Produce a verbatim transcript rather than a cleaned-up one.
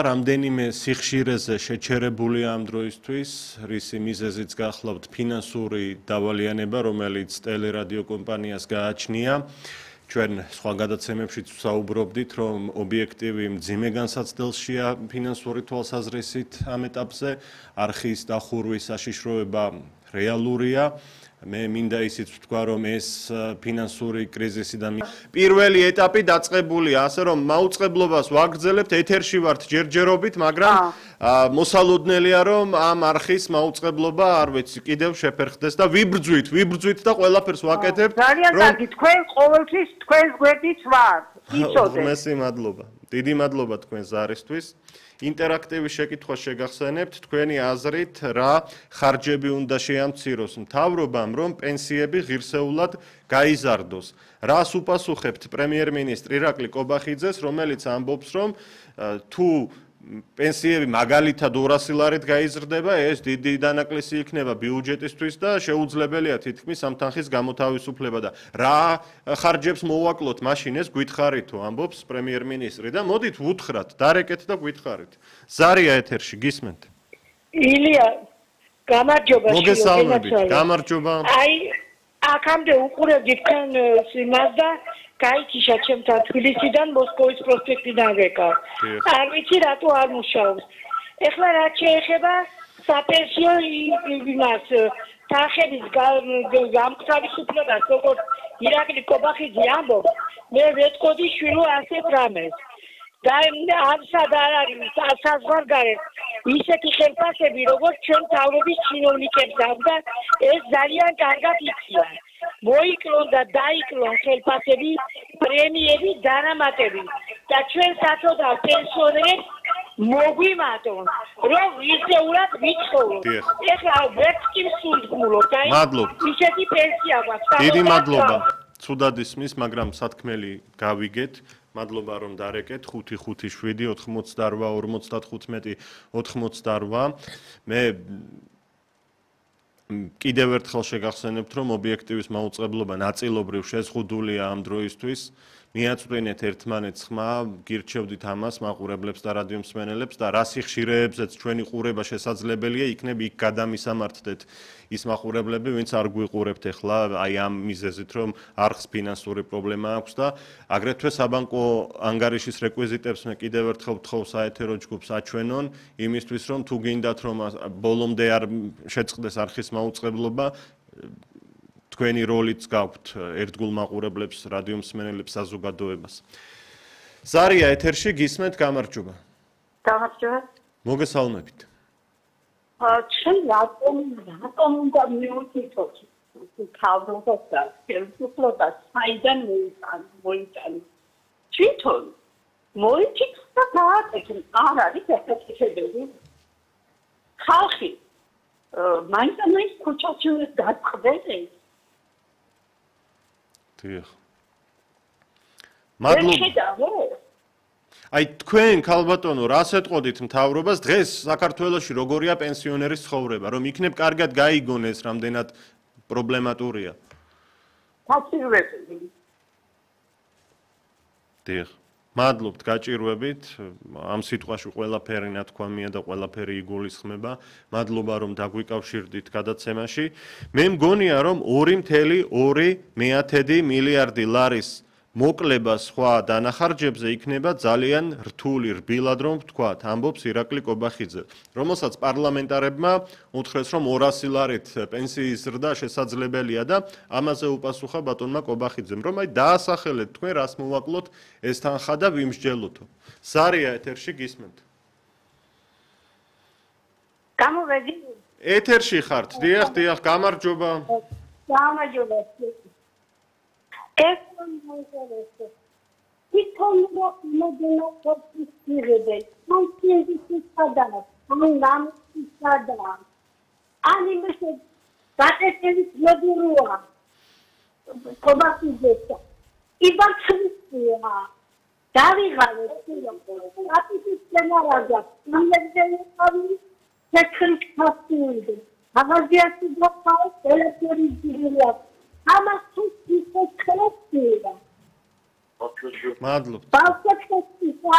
რამდენიმე სიხშირეზე შეჩერებულია ამ დროისთვის, რისი მიზეზიც გახლავთ ფინანსური დავალიანება, რომელიც ტელერადიო კომპანიას გააჩნია. ჩვენ სხვა გადაცემებშიც ვსაუბრობდით, რომ ობიექტივი მძიმე განსაცდელშია ფინანსური თვალსაზრისით ამ ეტაპზე, არხის დახურვის საშიშროება რეალურია. მე მინდა ისიც ვთქვა, რომ ეს ფინანსური კრიზისი და პირველი ეტაპი დაწყებულია, ასე რომ მაუწყებლობას ვაგრძელებთ, ეთერში ვართ ჯერჯერობით, მაგრამ მოსალოდნელია, რომ ამ არხის მაუწყებლობა, არ ვიცი, კიდევ შეფერხდეს და ვიბრძვით, ვიბრძვით და ყველაფერს ვაკეთებთ. ძალიან კარგი, თქვენ ყოველთვის თქვენს გვერდით ვართ. იცოდეთ. მესი მადლობა. დიდი მადლობა თქვენს ზარისთვის. ინტერაქტივი შეკითხვა შეგახსენებთ, თქვენი აზრით, რა ხარჯები უნდა შეამციროს მთავრობამ, რომ პენსიები ღირსეულად გაიზარდოს. რას უპასუხებთ პრემიერ-მინისტრ ირაკლი კობახიძეს, რომელიც ამბობს, რომ თუ პენსიები მაგალითად ორასი ლარით გაიზრდება, ეს დიდი დანაკლისი იქნება ბიუჯეტისთვის და შეუძლებელია თითქმის ამ თანხის გამოთავისუფლება და რა ხარჯებს მოვაკლოთ მაშინ ეს გვითხარითო, ამბობს პრემიერ-მინისტრი და მოდით ვუთხრათ, დარეკეთ და გვითხარით. ზარია ეთერში, გისმენთ. ილია, გამარჯობა. მოგესალმებით, გამარჯობა. აი, აქამდე უყურებდი თქვენ სიმას და გაიქიშა ჩემთან თბილისიდან მოსკოვის პროსპექტიდან რეკა. არ ვიცი რატო არ მუშაობს. ეხლა რაც შეეხება საპენსიო იმას თანხების გამთავისუფლებას, როგორც ირაკლი კობახიძე ამბობს, მე ვეთქოდი შვილო ასეთ რამეს. და ამსად არ არის საზღვარგარეთ ისეთი ხელფასები, როგორც ჩვენ თავრობის ჩინოვნიკებს აქვს და ეს ძალიან კარგად იციან. მოიკლონ და დაიკლონ ხელფასები, პრემიები, დანამატები და ჩვენ საწოდავ პენსიონერებს მოგვიმატონ, რომ ისეულად ვიცხოვროთ. ეხლა ვერც კი მსულთმულობთ, აი ისეთი პენსია გვაქვს. დიდი მადლობა. ცუდად ისმის, მაგრამ სათქმელი გავიგეთ. მადლობა რომ დარეკეთ ხუთი ხუთი შვიდი ოთხმოცდაორვა ორმოცდათხუთმეტი ოთხმოცდაორვა. მე კიდევ ერთხელ შეგახსენებთ, რომ ობიექტივის მაუწყებლობა ნაწილობრივ შეზღუდულია ამ დროისთვის. მიაწვდენეთ ერთმანეთს ხმა, გირჩევდით ამას მაყურებლებს და რადიო მსმენელებს და რა სიხშირეებზეც ჩვენი ყურება შესაძლებელია, იქნებ იქ გადამისამართდეთ ის მაყურებლები, ვინც არ გვიყურებთ ახლა, აი ამ მიზეზით, რომ არხს ფინანსური პრობლემა აქვს და აგრეთვე საბანკო ანგარიშის რეკვიზიტებს მე კიდევ ერთხელ ვთხოვ საეთერო ჯგუფს აჩვენონ, იმისთვის რომ თუ გინდათ რომ ბოლომდე არ შეწყდეს არხის მაუწყებლობა, თქვენი როლიც გაქვთ ერთგულ მაყურებლებს, რადიო მსმენელებს საზოგადოებას. ზარია ეთერში გისმენთ, გამარჯობა. გამარჯობა. მოგესალმებით. ჩვენ რატომ რატომ უნდა მივუთითოთ თავრობას და ხელისუფლებას საიდან მოიტანო? თვითონ მოიწიქს და გააკეთებს, არ არის efektivები. ხალხი მაინც ამის ქუჩაში გაწყვეტეს. დიახ. მადლობა. აი თქვენ ქალბატონო, რას ეტყოდით მთავრობას დღეს საქართველოში როგორია პენსიონერის ცხოვრება, რომ იქნებ კარგად გაიგონ ეს რამდენად პრობლემატურია? გაჭირვებული. დიახ. მადლობთ, გაჭირვებით. ამ სიტყვაში ყველაფერი ნათქვამია და ყველაფერი იგულისხმება. მადლობა რომ დაგვიკავშირდით გადაცემაში. მე მგონია რომ ორი მთელი ორი მეათედი მილიარდი ლარის მოკლება სხვა დანახარჯებზე იქნება ძალიან რთული, რბილად რომ ვთქვათ, ამბობს ირაკლი კობახიძე, რომელსაც პარლამენტარებმა უთხრეს, რომ ორასი ლარით პენსიის ზრდა შესაძლებელია და ამაზე უპასუხა ბატონმა კობახიძემ, რომ აი დაასახელეთ თქვენ რას მოვაკლოთ ეს თანხა და ვიმსჯელოთო. ზარია ეთერში გისმენთ. გამოვედი. ეთერში ხართ, დიახ, დიახ, გამარჯობა. გამარჯობა. ეს მომწონს. თვითონ მოგენა პოსტირებე. მომწონს სადაა. ამან სადაა. ანიმეში ბატეთის მოდურუა. კობახიძე. იბაცხია. დავიღალე სიამოვნებო. აპიტის სცენარია. იმედელი ხარი შეკრით ფასტიუდი. მაგაზიასი გაფაო ელექტრი ძირია. ამას თუ ისე ხელს დია. მადლობთ. ბავშვებს